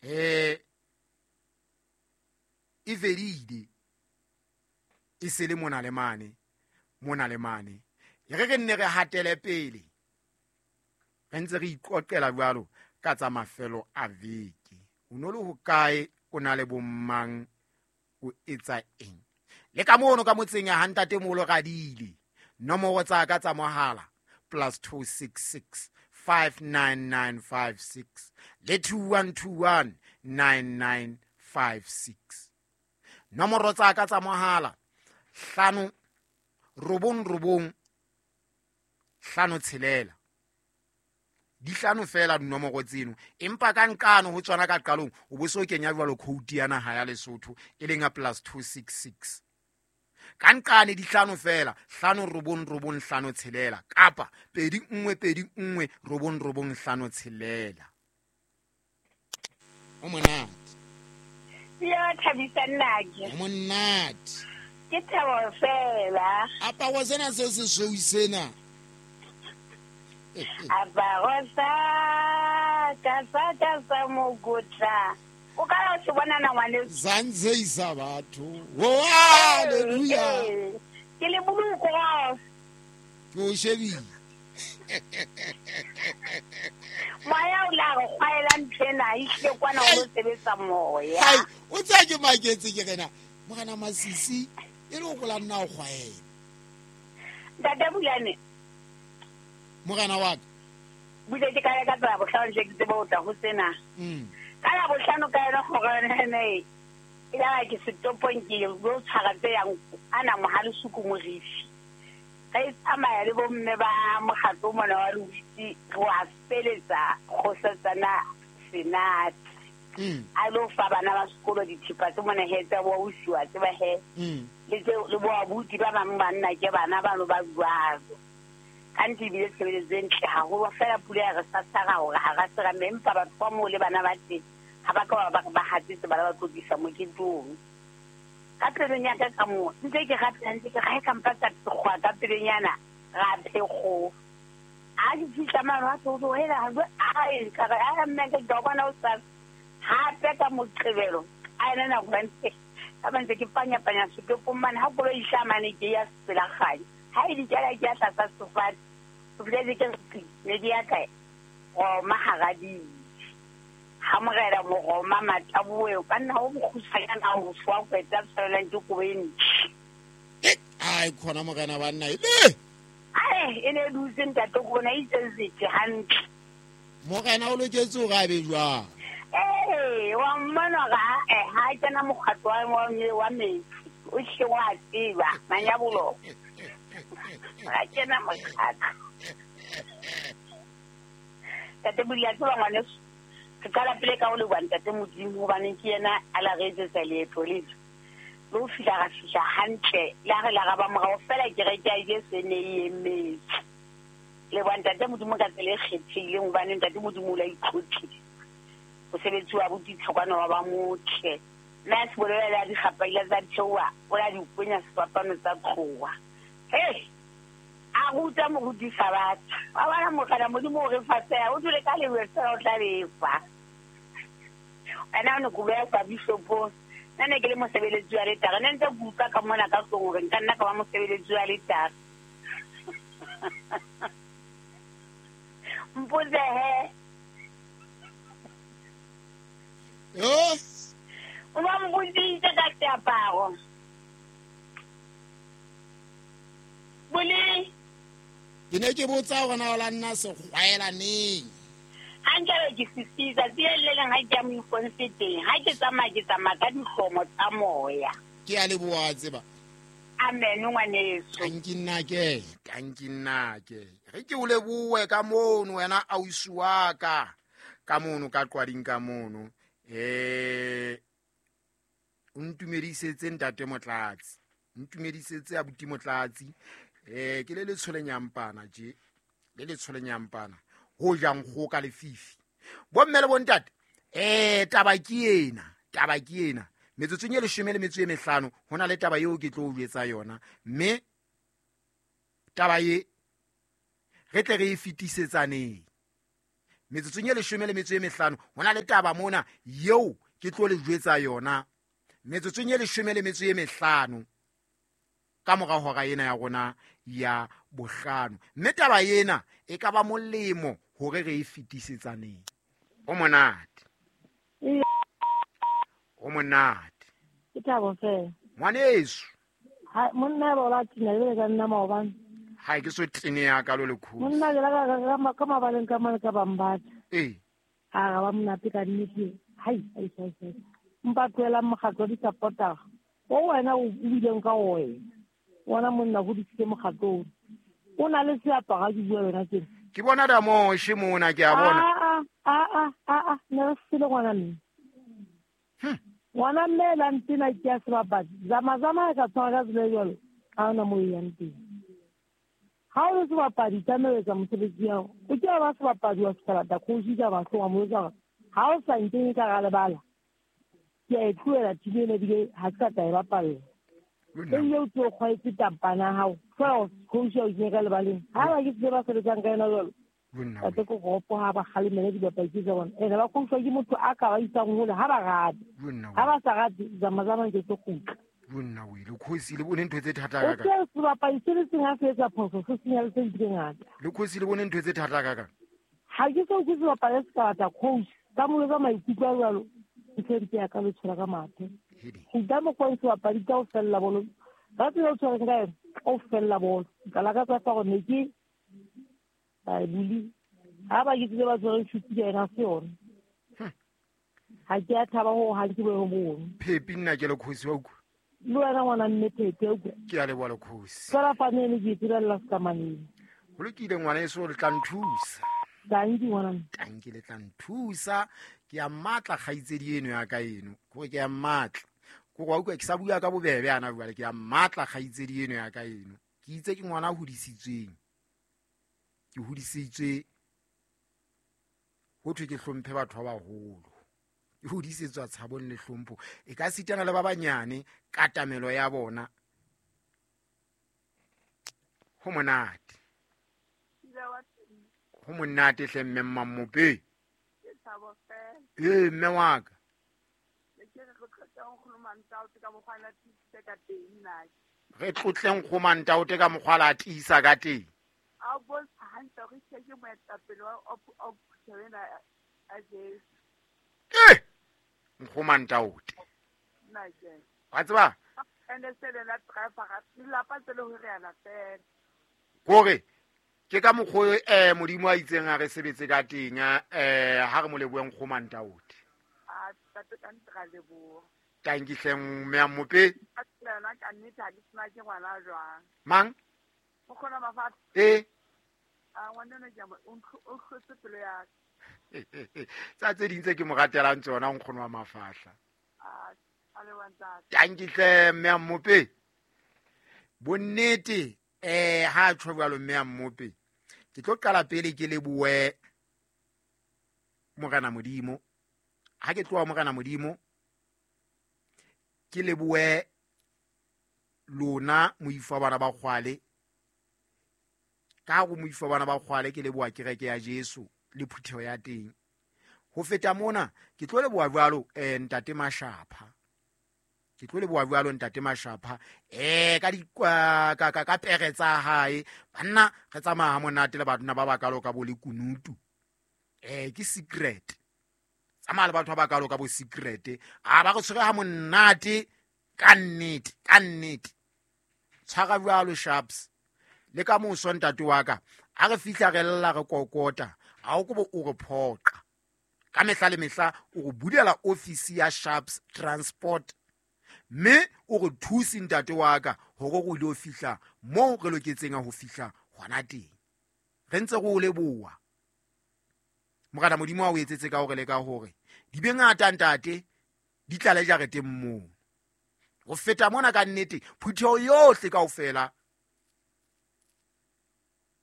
E fedile e sele mona le mane, mona le mane. E re re nne re hatele pele, re ntse re iqoqela jwalo ka tsa mafelo a veke. O no le hokae, o na le bommang, o etsa eng? Le ka mono ka motseng ya hantate molo radile. Nomoro tsa ka tsa mohala +266 59956 le 2121 9956. Nomoro tsa ka tsa mohala 5 9 9 5 6. Di hlano fela dinomoro tseno, empa ka nqano ho tsona ka qalong o bo so kenya jwalo code ya naha ya Lesotho e leng ya +266. Ka nqane di hlano fela, 5 9 9 5 6 kapa 2 1 2 1 9 9 5 6. O monate. Ya thabisa nnake. O monate. Ke thabo fela. Aparo sena se sesweu sena. Aparo sa ka sa ka sa mokotla. O ka ya se bona na ngwaneso? Zanzeisa batho. Oh, hallelujah. Ke le boloko. Ke o shebile. Moya o la re kgwaela ntho ena, e hlile kwana o lo sebetsa moya. Hai, o tsaya ke maketse ke rena. Morena Masisi, e le o kola nna o kgwaela. Ntate Bulane. Morena wa ka. Bule ke ka ya ka tsela bohlano tle ke tsebe ho tla ho tsena. Ka la bohlano ka yona gore ne e la ke setopong ke lo tshwara tse yang ana mohale suku morifi. Re tsamaya le bomme ba mokgatlo mona wa Lewitsi, re wa feletsa kgosatsana Senate. A lo fa bana ba sekolo dithipa tse mona he tsa bo ausi wa tseba he. Le tse le bo abuti ba bang banna ke bana ba no ba jwalo. Ka ntse ebile tshebeletso e ntle haholo, fela pula ya re sasara hore ha ra sera mme, empa batho ba moo le bana ba teng ha ba ka ba ba hatsetse bana ba tlo tlisa moketeng. Ka pelong ya ka ka moo, ntse ke rapela, ntse ke re, ha e ka mpa ka phekgoa ka pelenyana, ra phekgoa. Ha ke fihla mane, wa tlo ho hela, ha jwe, ai, ka re, ai, mme, ke tla o bona hosasa. Hape ka Moqebelo, a ena nako ya ntse, ka ba ntse ke panya-panya setopong mane, ha koloi e hlaha mane ke ya pela kganya. Ha e dikela ke ya tlasa sefate, ho fihla ke re pi, ne di ya kae? Roma hara dijo. Ha morena Moroma Mataboe, ka nna o mokgutshwanyana ho fuwa kweta tshwanelang ke kobo e ntle. Ai, khona morena banna e le. Ai, e ne e dutse ntate ko bona e itse sethe hantle. Morena o loketse hore a be jwang? Ee, wa mmona hore ha kena mokgatlo wa metsi, o hle wa tseba, manyabolo. Ha kena mokgatlo. Ntate Bodi, a tseba ngwaneso, re qala pele ka ho leboha ntate Modimo, hobane ke yena a la re etsetsa leeto lena. Le ho fihla ra fihla hantle, le ha re la ra ba morao fela kereke ya Jesu e ne e emetse. Leboha ntate Modimo ka tsela e kgethehileng, hobane ntate Modimo o la itlhotlile. Mosebetsi wa botitlhokwana wa ba motle. Mme a se bolela le a dikgapaila tsa theoha, o la di kwenya sefapano tsa tloha. Hei, a ruta moruti Sabatha. Wa bona morena Modimo o re fa feela, o dule ka lejwe fela o tla lefa. Wena o ne ko beha kwa bishopong. Nna ne ke le mosebeletsi wa letara. Ne ntse ke utlwa ka mona ka tlung hore nka nna ka ba mosebeletsi wa letara. Mpotse he. Yo. O ba mpotsitse ka seaparo. Bole. Ke ne ke botsa hore na o la nna sekgwaela neng. Ha nkabe ke sisisa, tse le leng ha ke ya moiponse teng. Ha ke tsamaya, ke tsamaya ka dihlomo tsa moya. Ke a leboha, tseba. Amen, ngwaneso. Tanki nnake, tanki nnake. Re ke o lebohe ka mono wena ausi wa ka. Ka mono ka qwading ka mono. O ntumedisetse ntate Motlatsi. Ntumedisetse abuti Motlatsi. Ke le letsholo nyampana tje. Le letsholo nyampana. Ho jang kgoho ka lefifi. Bomme le bontate, taba ke ena, taba ke ena. Metsotsong e leshome le metso e mehlano, ho na le taba eo ke tlo o jwetsa yona. Mme taba e re tle re e fetisetsaneng. Metsotsong e 15, ho na le taba mona eo ke tlo le jwetsa yona. Metsotsong e 15 ka mora hora ena ya rona ya bohlano. Mme taba ena e ka ba molemo hore re e fetisetsaneng. O monate. O monate. Ke thabo fela. Ngwaneso. Ha monna ba ola tina le ka nna maobane. Ha ke so tene ya ka lo le kholo. Monna le ka ka mabaleng ka mane ka bambatha. Eh. Ha ga ba monate ka nnete. Hai hai hai. Mpa tlohela mokgatlo wa di-supporter. O wena o bileng ka wena. Wona monna go disitse mokgatlo. O na le seaparo ke bua wena teng. Ke bona da moshe mona ke a bona. A ne re se le ngwana mme. Ngwana mme la ntena ke ya sebapadi. Zama zama ka tshwara ka tsela e jwalo. Ha ona mo e yang teng. Ha o le sebapadi tlameha etsa mosebetsi ya hao. O ke ba sebapadi wa sekalata coach ka mahlong wa mo jwetsa. Ha o sa nkenye ka ga lebala. Ke a e tlohela team ena ebile ha ke sa tla e bapalla. E o tlo kgwaetse tampana hao. Fela coach ya o kenye ka lebaleng. Ha ba ke tsebe ba sebetsang ka yona jwalo. Tate ko gopo ha ba kgalemele dibapadi tsa bona. Ene ba coach ke motho a ka ba isang hole ha ba rate. Ha ba sa rate zama zama ke tlo kgutla. Bonna o ile khosi le bone ntho tse thata ka ka. O ke sebapadi se le seng ha se etsa phoso se senya le tse ngata. Le khosi le bone ntho tse thata ka ka. Ha ke so ke sebapadi se ka batla coach ka mo etsa maikutlo a jwalo. Ke ntse ya ka le tshwara ka mathe. Go mo kwa sebapadi ka o fella bolo. Ba tsela o tshwara ka yona o fella bolo. Ka la ka tsa fa go ne ke ba buli. Ha ba ke tsebe ba tshwere tšhuti ka yena se yona. Ha ke a thaba ho ha ke bo bone. Phepi nna ke le khosi wa utlwa. Le wena ngwana mme Phephi utlwa. Ke a leboha le khosi. Fela fa ne le ke itirela sekamaneng. Ho lokile ngwana eso le tla nthusa. Tanki ngwana. Tanki le tla nthusa. Ke a matla kgaitsedi eno ya ka eno. Kore ke a matla. Kore wa utlwa ke sa bua ka bobebe ana jwale ke a matla kgaitsedi eno ya ka eno. Ke itse ke ngwana a hodisitsweng. Ke hodisitswe ho thwe ke hlomphe batho ba baholo. Ke hodisetswa tshabong le hlompho. E ka sitana le ba banyane katamelo ya bona. Ho monate. Ho monate hle mme Mmamope. Ee mme wa ka. Re tlotleng go Mantaote ka mokgwa la tiisa ka teng. A bontsha hantle hore ke moetapele wa phutheho ena a Jesu. Eh! Nkgo Mantaote. Wa tseba? Ene se le la driver lelapa tse le ho re ala fela. Kore ke ka mokgwa Modimo a itseng a re sebetse ka teng ha re mo leboheng Nkgo Mantaote. A tate ka ntra leboha. Tanki hleng mme a Mmope. A tsela ka nnete ha ke tsena ke ngwana jwang. Mang? O kgona mafatshe. Eh. A ngwana ke o hlotse pelo ya ka. Tsa tse ding tse ke mo ratelang tsona nkgono wa mafahla. A le wa ntate. Tanki hle mme a Mmope. Bonnete ha tjho jwalo mme a Mmope. Ke tlo qala pele ke lebohe Morena Modimo. Ha ke tloha Morena Modimo ke lebohe lona moifo wa bana ba kgwale. Ka go moifo wa bana ba kgwale ke leboha kereke ya Jesu le phutheho ya teng. Ho feta mona ke tlo leboha jwalo ntate Mashapha. Ke tlo leboha jwalo ntate Mashapha ka di ka pere tsa hae. Banna re tsamaya ha monate le batho ba bakalo ka bo le kunutu. Ke secret. Tsamaya le batho ba bakalo ka bo secret. A ba re tshwere ha monate ka nnete, ka nnete. Tshwara jwalo sharps. Le ka moso ntate wa ka a re fihla re lla re kokota a o kobo o re phoqa. Ka mehla le mehla o re bulela office ya Sharps Transport mme o re thuse ntate wa ka hore re ile ho fihla moo re loketseng ho fihla hona teng. Re ntse re o leboha. Morena Modimo a o etsetse ka hore le ka hore di be ngata ntate di tlale jareteng moo. Ho feta mona ka nnete phutheho yohle kaofela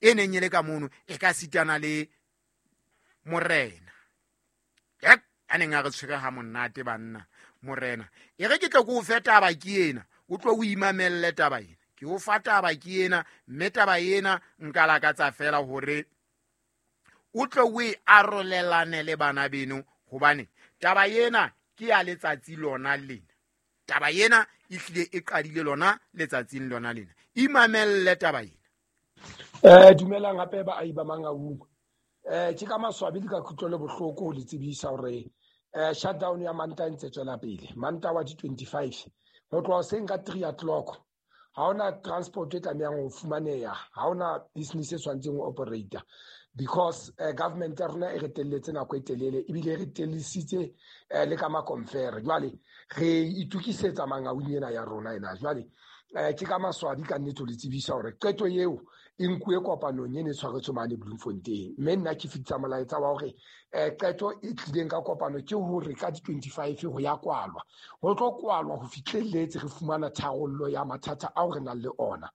e neng e le ka mono e ka sitana le morena. Yep, a neng a re tshwere ha monate banna morena. E re ke tlo ko o fe taba ke ena, o tlo o imamelle taba ena. Ke o fa taba ke ena, mme taba ena nka lakatsa fela hore O tlo o e arolelane le bana beno, hobane taba ena ke ya letsatsi lona lena. Taba ena e hlile e qadile lona letsatsing lona lena. Imamelle taba ena. Dumelang hape baahi ba Mangaung. Ke ka maswabi le ka kutlo le bohloko ho le tsebisa hore shutdown ya Manta e ntse tswela pele. Manta wa di 25 ho tloha hoseng ka 3 o'clock. Ha hona transport e tlamehang ho fumaneha, ha hona business e tshwanetseng ho operate because government ya rona e re telletse nako e telele ebile e re tellisitse le ka makomfere. Jwale re itukisetsa Mangaung ena ya rona ena. Jwale ke ka maswabi ka nnete ho le tsebisa hore qeto eo e nkuwe kopanong e ne tshwaretswe mane Bloemfontein. Mme nna ke fetisa molaetsa wa hore qeto e tlileng ka kopano ke hore ka di-25 ho ya kwalwa. Ho tlo kwalwa ho fihlelletse re fumana tharollo ya mathata ao re nang le ona.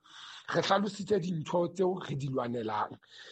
Re hlalositse dintho tseo re di lwanelang.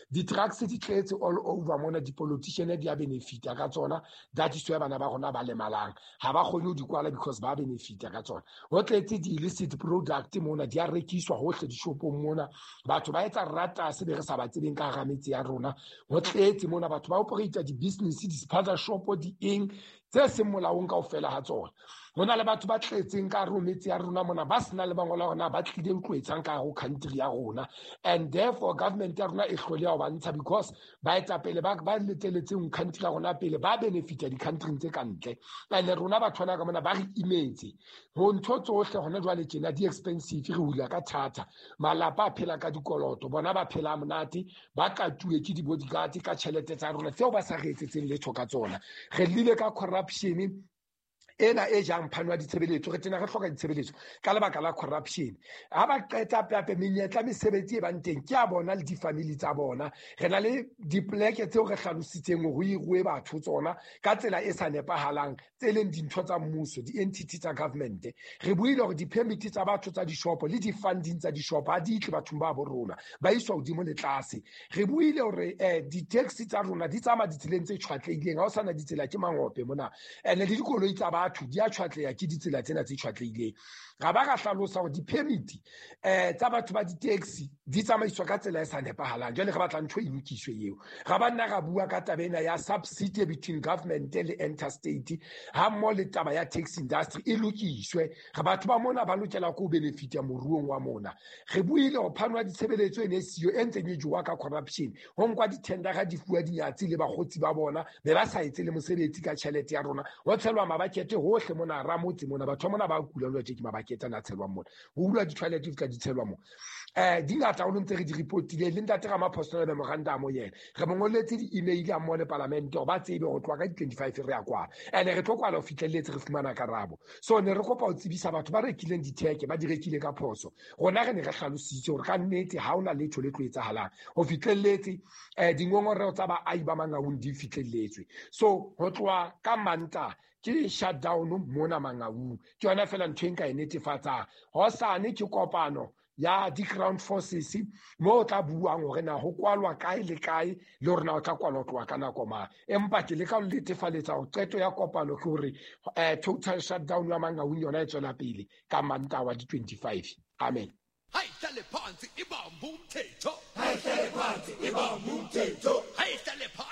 Di-drugs di tletse all over mona, di-politician di a benefita ka tsona. That is why bana ba rona ba lemalang. Ha ba kgone ho di kwala because ba benefita ka tsona. Ho tletse di-illicit product mona, di a rekiswa hohle dishopong mona. Batho ba etsa rata se be re sa ba tsebeng ka hara metse ya rona. Ho tletse mona, batho ba operate di-business, di-spaza shop, di eng tse seng molaong kaofela ha tsona. Ho na le batho ba tletseng ka hare ho metse ya rona mona, ba sena le mangolo a rona, ba tlile ho tlo etsang ka hare ho country ya rona. And therefore government ya rona e hloleha ho ba ntsha because baetapele ba leteletseng country ya rona pele ba benefita di-country tse ka ntle. And rona batho bana ka mona ba re imetse. Ho ntho tsohle hona jwale tjena di expensive, re hula ka thata. Malapa a phela ka dikoloto, bona ba phela monate, ba katuwe ke di-bodyguard ka tjhelete tsa rona tseo ba sa re etsetseng letho ka tsona. Re llile ka corruption ena e jang phano ya ditshebeletso, re tena re hloka ditshebeletso ka lebaka la corruption. Ha ba qeta hape menyetla mesebetsi e bang teng ke a bona le di-family tsa bona. Re na le dipoleke tseo re hlalositseng hore ho hiruwe batho tsona ka tsela e sa nepahalang, tse leng dintho tsa mmuso, di-entity tsa government. Re buile hore di-permit tsa batho tsa dishopo le di-funding tsa dishopo ha di tle bathong ba bo rona, ba iswa hodimo le tlase. Re buile hore di-taxi tsa rona di tsamaya ditseleng tse tjhwatlehileng, ha ho sana ditsela ke mangope mona, and le dikoloi tsa batho di a tjhwatleha ke ditsela tsena tse tjhwatlehileng. Ra ba ra hlalosa hore di-permit tsa batho ba di-taxi di tsamaiswa ka tsela e sa nepahalang. Jwale re batla ntho e lokiswe eo. Ra ba nna ra bua ka taba ena ya subsidy between government le interstate ha mmoho le taba ya taxi industry e lokiswe. Re batho ba mona ba lokela ko benefita moruong wa mona. Re buile hore phano ya ditshebeletso e ne siyo e ntseng e jowa ka corruption. Ho nkwa di-tendera di fuwa dinyatsi le bakgotsi ba bona, be ba sa etse le mosebetsi ka tjhelete ya rona. Ho tshelwa mabakete hohle mona hara motse mona, batho ba mona ba kula jwale ke mabakete ana a tshelwang mona. Ho hulwa di-toilet di tla di tshelwa mona. Di ngata haholo ntse re di report-ile le ntate Ramaphosa le memorandum yena. Re mo ngolletse di-email a mmoho le palamente hore ba tsebe ho tloha ka di-25 re ya kwala. And re tlo kwala ho fihlelletse re fumana karabo. So ne re kopa ho tsebisa batho ba rekileng ditheke, ba di rekile ka phoso. Rona re ne re hlalositse hore ka nnete ha hona letho le tlo etsahalang. Ho fihlelletse dingongoreho tsa baahi ba Mangaung di fihlelletswe. So ho tloha ka Manta ke shutdown mona Mangaung. Ke yona fela ntho e nka e netefatsang. Hosane ke kopano ya di-ground forces mo o tla buang hore na ho kwalwa kae le kae le hore na o tla kwalwa ho tloha ka nako mang. Empa ke leka ho netefaletsa hore qeto ya kopano ke hore total shutdown ya Mangaung yona e tswela pele ka Mantaha wa di-25. Amen. Hayihlale phansi ibambe umthetho. Hayihlale phansi ibambe umthetho. Hayihlale phansi.